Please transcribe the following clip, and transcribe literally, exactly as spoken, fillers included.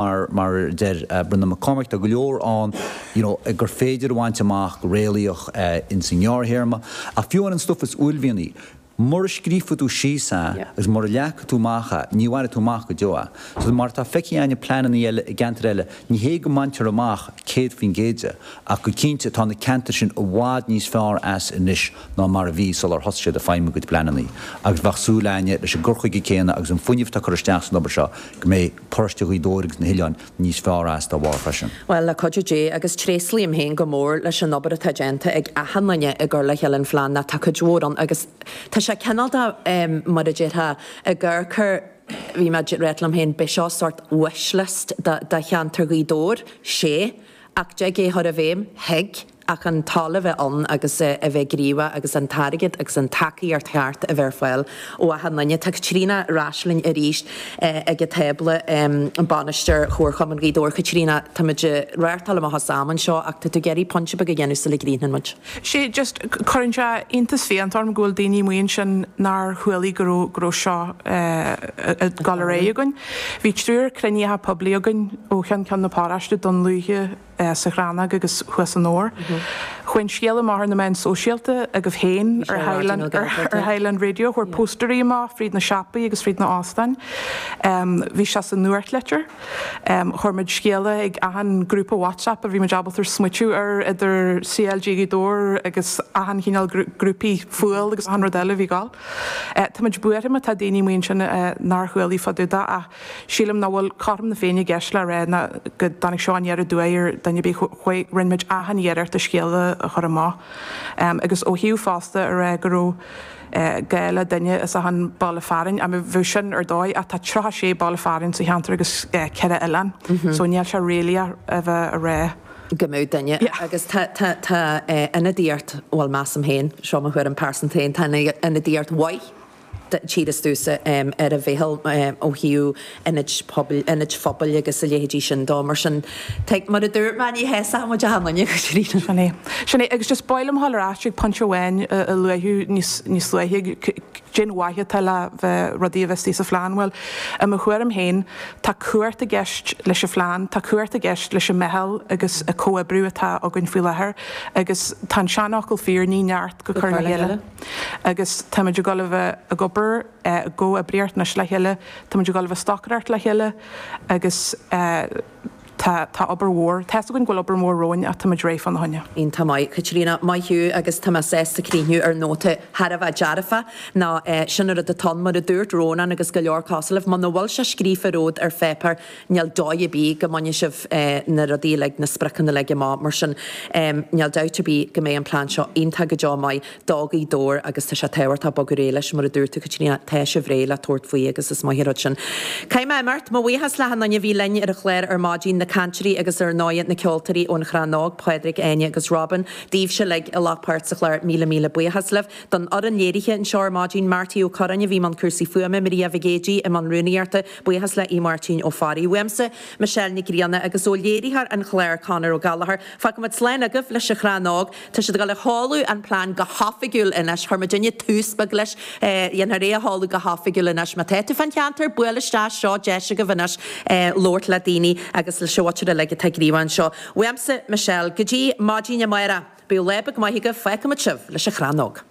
mar mar a deir Breandán Mac Cormaic, tá go leor ann you know, gur féidir a bhaint amach go réalaíoch uh, in san ghearrthéarma, ach fiú an stuff is uaillmhianaí. Mura scríofa tú síos é agus mura leaga tú amach é, ní bhainfidh tú amach go deo é. So mar tá feicthe againne pleananna eile i gceantar eile, ní hé go mbaintear amach céad faoin gcéad de, ach go cinnte tá na ceantair sin i bhfad níos fearr as anois ná mar a bhí sular thosaigh siad ag feidhmiú a gcuid pleananna. Agus bheadh súil againne leis an gcur chuige céanna agus an fuinneamh atá curtha isteach san obair seo go mbeidh paróiste Ghaoth Dobhair agus na hoileáin níos fearr as dá bharr freisin. Well le cuidiú Dé agus tréaslaím féin go mór leis an obair atá déanta ag achan duine i gcur le chéile an phlean ná tá cuid mhór ann agus tá sé cineál de um, mar a déarfá i gcur bhí mé ag rá liom féin b'é seo sort wishlist de cheantar Ghaoth Dobhair sé ach de é chur i bhfeidhm thig ach an toil a bheith ann agus a bheith gníomhach agus an t-airgead agus an tacaíocht cheart a bheith ar fáil ó achan duine. Tá Caitríona ar ais linn arís ag an tábla an bainisteoir Chomharchumann Ghaoth Dobhair. Caitríona táimid reáchtáil amach as am anseo ach tá tú ag iarraidh pointe beag a dhéanamh sula gcríochnaíonn muid. Sé just cuireann sé iontas fiánta orm go bhfuil daoine amuigh ansin nár chuala go raibh go raibh seo ag dul ar aghaidh againn. Bhí triúr cruinnithe poiblí againn ó cheann ceann na paróiste Dún Lúiche sa Chrannóg agus thuas san Ór. Chuaigh an scéal amach ar na meáin sóisialta agaibh féin ar Highland, ar, ar Highland Radio, chuir póstairí amach fríd na siopaí agus fríd na hóstáin. Um, bhí sé sa nuachtlitir. Um, chuir muid scéala ag achan grúpa WhatsApp a bhí muid ábalta smaoitiú ar idir C L G Gaoth Dobhair agus achan chineál grúpaí fuail agus achan rud eile bhí gáil. Uh, Tá muid buartha má tá daoine amuigh ansin uh, nár chuala fá dtaobh de ach sílim nach bhfuil cothrom na Féinne i gceist le rá ná go dtáinig seo aniar aduaidh ar duine ar bith rinne muid achan iarracht an scéala a chur amach. Um, agus ó thaobh fosta a rá go raibh uh, gá le duine as achan baile fearainn a bheadh sin ar dóigh ach tá tríocha sé baile fearainn sa cheantar agus uh, ceithre oileán, mm -hmm. so níl sé réalaíoch a bheith a rá. Go mbeadh duine agus tá ionadaíocht bhfuil measaim féin seo mo thuairim pearsanta féin tá ionadaíocht mhaith tíisteúsa ar a bhéal ó thaobh ionaid ionaid phobail agus a leithéidí sin dó mar sin mar a dúirt mé ní hé muid a haine Sin é. Sin é agus just b'áil liom ar ais ag pointe amháin a luaithe níos luaithe cén mhaith atá le bheith rudaí a bheith sa phlean well i mo thuairim féin tá cumhacht i gceist leis an phlean, tá cumhacht i gceist leis an meitheal agus a comhoibriú atá againn faoi láthair agus tá an seanfhocal fíor ní neart go cur le chéile. Agus táimid ag dul a bheith ag obair go oibríocht le chéile, Táimid ag dul a bheith stocaireacht le chéile agus tá tá obair mhór Tá go bhfuil obair mhór romhainn ach táimid réidh fána choinne. Iontach maith Caitríona maith thú agus tá mé sásta críochnú ar nóta thar a bheith dearfa ná sin rud atá mar a dúirt Rónán agus go leor cosúil libh, muna bhfuil sé scríofa rud ar pháipéar níl dóigh ar bith go mbainfidh sibh na rudaí le na spriocanna le amach mar sin níl dabht ar bith go mbeidh an plean seo iontach go deo maith do Ghaoth Dobhair agus tá sé tábhachtach bogadh réidh leis mar a dúirt tú Caitríona tá sibh réidh le tabhairt faoi agus is maith rud sin. Caithfidh mé imeacht mo bhuíochas le achan duine a bhí linn ar an chlár ar maidin na cainteoirí agus ar ndóigh na ceoltóirí ón Chrannóg, Pádraig, Áine agus Robin, daoibhse uilig a ghlac páirt sa chlár míle míle buíochas libh. Don fhoireann léirithe anseo ar maidin Marty Ó Curráin a bhí i mbun cúrsaí fuaime Maria Mhic Géidigh i mbun rúnaíochta, buíochas le í Máirtín Ó Fearraigh. Uaimse Michelle Nic Grianna agus ó léiritheoir an chláir Conor Ó Gallchóir. Fágfaimid slán agaibh leis an Chrannóg, Tá siad ag dul a sheoladh an plean go hoifigiúil anois chuir muidinne tús beag leis dhéanfar é a sheoladh go hoifigiúil anois má tá tú fán cheantar buail isteach seo deis agaibh anois labhairt le daoine agus leis an mhuintir uilig atá gníomhach anseo. Uaimse Michelle, go dtí maidin amárach, bíodh lá beag maith agaibh fágfaimid sibh leis an Chrannóg.